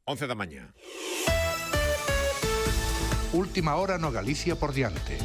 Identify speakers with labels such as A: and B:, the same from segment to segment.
A: 11 da mañá.
B: Última hora no Galicia por diante.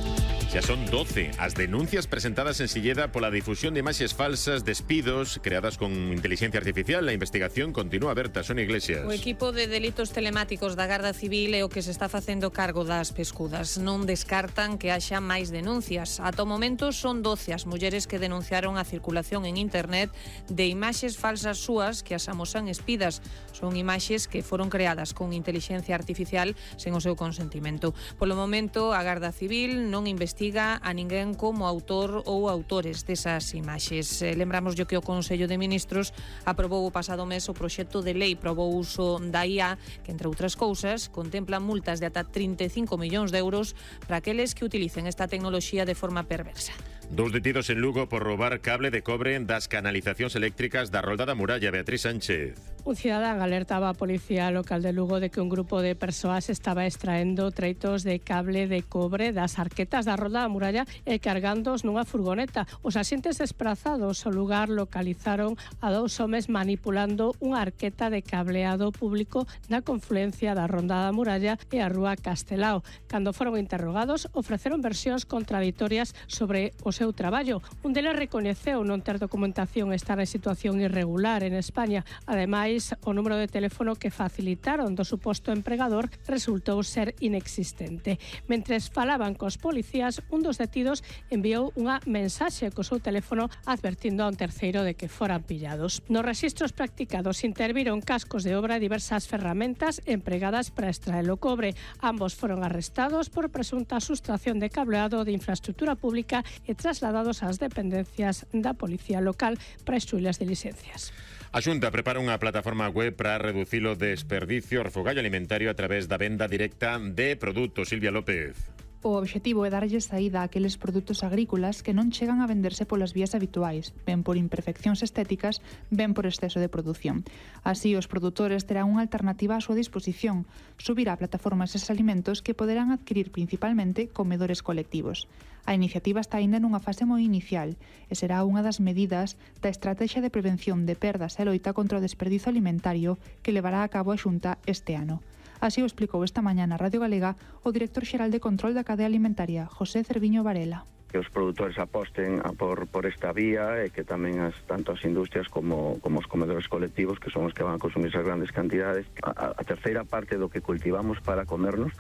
A: Xa son 12 as denuncias presentadas en Silleda pola difusión de imaxes falsas, despidos creadas con inteligencia artificial. A investigación continúa aberta. Sonia Iglesias.
C: O equipo de delitos telemáticos da Garda Civil é o que se está facendo cargo das pescudas. Non descartan que haxa máis denuncias. Ata o momento son 12 as mulleres que denunciaron a circulación en internet de imaxes falsas súas que as amosan espidas. Son imaxes que foron creadas con inteligencia artificial sen o seu consentimento. Polo momento, a Garda Civil non investiga a ninguén como autor ou autores desas imaxes. Lembramos que o Consello de Ministros aprobou o pasado mes o proxecto de lei para o uso da IA, que, entre outras cousas, contempla multas de ata 35 millóns de euros para aqueles que utilicen esta tecnoloxía de forma perversa.
A: 2 detidos en Lugo por roubar cable de cobre das canalizacións eléctricas da Rolda da Muralla. Beatriz Sánchez.
D: Un cidadán alertaba a Policía Local de Lugo de que un grupo de persoas estaba extraendo treitos de cable de cobre das arquetas da Rolda da Muralla e cargándoos nunha furgoneta. Os axentes desprazados ao lugar localizaron a 2 homes manipulando unha arqueta de cableado público na confluencia da Ronda da Muralla e a Rúa Castelao. Cando foron interrogados, ofreceron versións contraditorias sobre o seu traballo. Un deles recoñeceu non ter documentación e estar en situación irregular en España. Ademais, o número de teléfono que facilitaron do suposto empregador resultou ser inexistente. Mentres falaban cos policías, un dos detidos enviou unha mensaxe co seu teléfono advertindo a un terceiro de que foran pillados. Nos rexistros practicados interviron cascos de obra e diversas ferramentas empregadas para extraer o cobre. Ambos foron arrestados por presunta sustracción de cableado de infraestructura pública e trasladados ás dependencias da Policía Local para instruílas de licencias.
A: A Xunta prepara unha plataforma web para reducir o desperdicio, refogallo alimentario a través da venda directa de produtos. Silvia López.
E: O obxectivo é darlle saída a aqueles produtos agrícolas que non chegan a venderse polas vías habituais, ben por imperfeccións estéticas, ben por exceso de produción. Así, os produtores terán unha alternativa á súa disposición, subir á plataforma eses alimentos que poderán adquirir principalmente comedores colectivos. A iniciativa está aínda nunha fase moi inicial e será unha das medidas da estrategia de prevención de perdas e loita contra o desperdizo alimentario que levará a cabo a Xunta este ano. Así o explicou esta mañá na Radio Galega o director xeral de Control da Cadea Alimentaria, José Cerviño Varela.
F: Que os produtores aposten por esta vía e que tamén tanto as industrias como os comedores colectivos, que son os que van a consumir esas grandes cantidades. A terceira parte do que cultivamos para comernos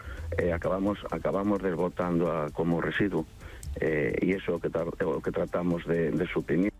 F: acabamos desbotando como residuo, e iso é o que tratamos de suprimir.